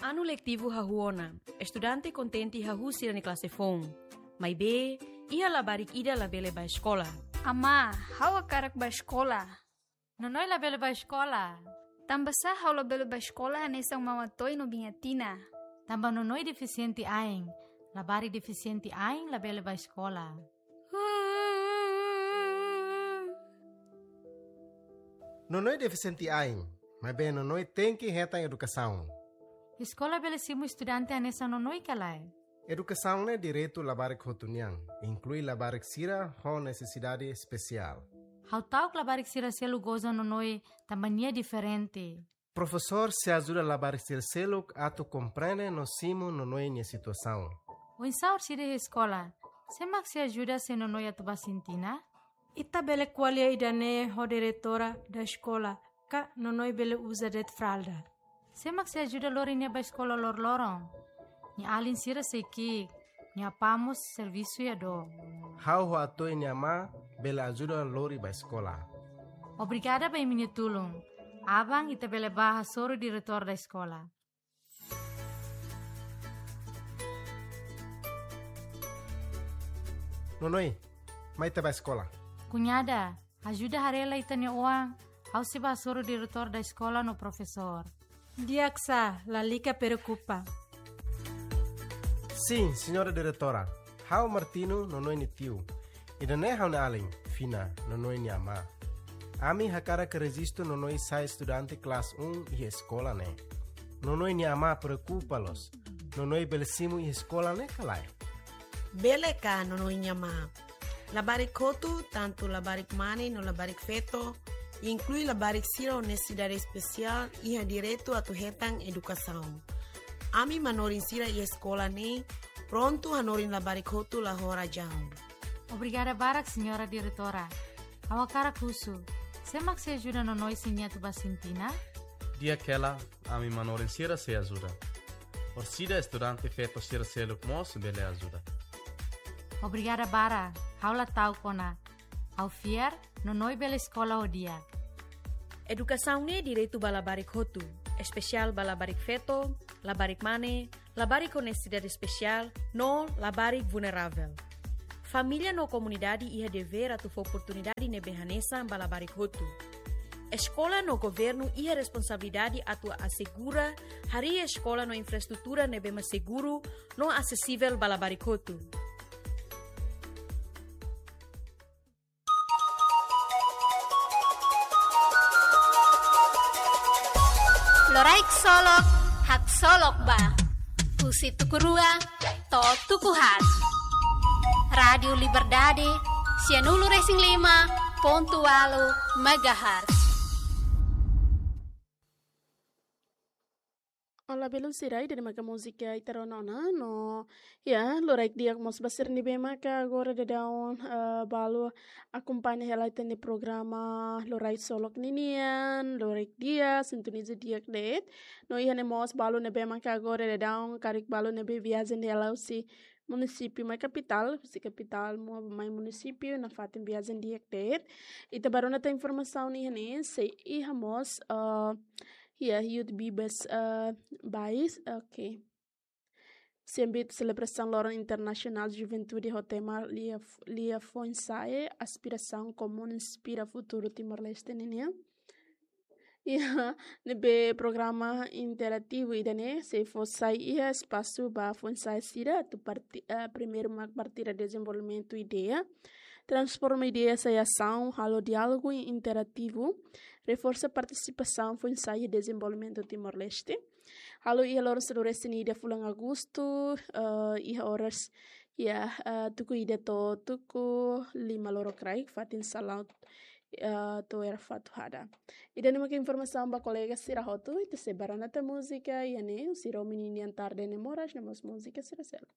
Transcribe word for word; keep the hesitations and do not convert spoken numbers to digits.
Anu letivu hahú ona, estudante kontente hahú sira-nia klase foun. Maibé, iha labarik ida labele bá eskola. Amá, ha'u hakarak bá eskola. Nonoi labele bá eskola. Tanbasá ha'u labele bá eskola hanesan Maun Atoy no Biin Atina? Tanba Nonoi defisiente ain. Labarik defisiente ain labele bá eskola. Nonoi defisiente ain, maibé Nonoi tenke hetan edukasaun. Eskola bele simu estudante hanesan Nonoi ka lae? Edukasaun ne'e direitu labarik hotu nian, inklui labarik sira ho nesesidade espesiál. Ha'u ta'uk labarik sira seluk goza Nonoi tanba nia diferente. Profesór sei ajuda labarik sira seluk atu komprende no simu Nonoi nia situasaun. Oinsá orsida iha eskola? Sé mak sei ajuda se Nonoi atu bá sintina? Ita bele ko'alia ida-ne'e ho diretora da eskola, ka Nonoi bele uza de'it fralda. Sé mak sei ajuda lori nia bá eskola loroloron? Nia alin sira sei ki'ik, nia apá mós servisu iha dook. Ha'u ho Atoy nia amá bele ajuda lori bá eskola. Obrigada ba imi-nia tulun. Aban ita bele bá hasoru diretór da eskola. Nonoi, mai ita bá eskola. Kuñada, ajuda haree lai ita-nia oan, ha'u sei bá hasoru diretór da eskola no profesór. Di'ak sá, lalika preokupa. Sin, señora diretora. Ha'u Martino, Nonoi nia tiu. Ida-ne'e ha'u-nia alin, Fina, Nonoi nia amá. Ami hakarak rejistu Nonoi sai estudante klase um iha eskola ne'e. Nonoi nia amá preokupa loos. Nonoi bele simu iha eskola ne'e ka lae? Bele ka, Nonoi nia amá. Labarik hotu, tantu labarik mane no labarik feto, inklui labarik sira ho nesesidade espesiál, iha direitu atu hetan edukasaun. Ami manorin sira iha eskola ne'e prontu hanorin labarik hotu la ho razaun. Obrigada barak, señora diretora. Ha'u hakarak husu, sé mak sei ajuda Nonoi se nia atu bá sintina? Di'ak hela, ami manorin sira sei ajuda. Orsida estudante feto sira seluk mós bele ajuda. Obrigada barak, ha'u la ta'uk ona. Ha'u fiar, Nonoi bele eskola ho di'ak. Edukasaun ne'e direitu ba labarik hotu, espesiál ba labarik feto, labarik mane, labarik ho nesesidade espesiál, no labarik vulneravel. Família no komunidade iha devér atu fó oportunidade ne'ebé hanesan ba labarik hotu. Eskola no governu iha responsabilidade atu asegura harii eskola no infraestrutura ne'ebé mak seguru no asesivel ba labarik hotu. Loraik Solok, haksolok ba. Husi tuku rua to'o tuku haat. Rádiu Liberdade, sianulu resin lima pontu ualu megahertz. Olá, belun sira, ida-ne'e maka múzika ita rona ona, no, ya, loraik di'ak mós ba sira ne'ebé maka agora daudaun, eh, balu akompaña hela ita-nia programa Loraik Solok ninian, loraik di'ak, sintoniza di'ak de'it. No iha ne'e mós balu ne'ebé maka agora daudaun, karik balu ne'ebé viajen hela husi munisípiu mai kapitál, husi kapitál mak mai munisípiu, nafatin viajen di'ak de'it. Ita bá rona tan informasaun iha ne'e, sei iha mós, eh, ya, Youth Bibas, eh, bais, oke. Sei hanesan selebrasaun Loron Internasionál Juventude ho tema Lia, Lia Foinsa'e, aspirasaun komún inspira futuru Timor-Leste ninian. Ya, ne'ebé programa interativu ida-ne'e sei fó sai iha espasu ba foinsa'e sira atu parti-, eh, primeiru mak partilha dezenvolvimentu ideia, transforma ideia sai asaun, halo diálogu interativu, reforsa partisipasaun foinsa'e iha dezenvolvimentu Timor-Leste. Halo iha loron sanulu-resin-ida fulan Agostu, eh, iha oras, ya, eh, tuku ida to'o tuku lima lorokraik, fatin salaun, eh, to'o era fatuhada. Ida-ne'e maka informasaun ba kolega sira hotu, ita sei bá rona tan múzika, iha ne'e, husi Romi ninian Tarde Ne'e Moras, no mós múzika sira seluk.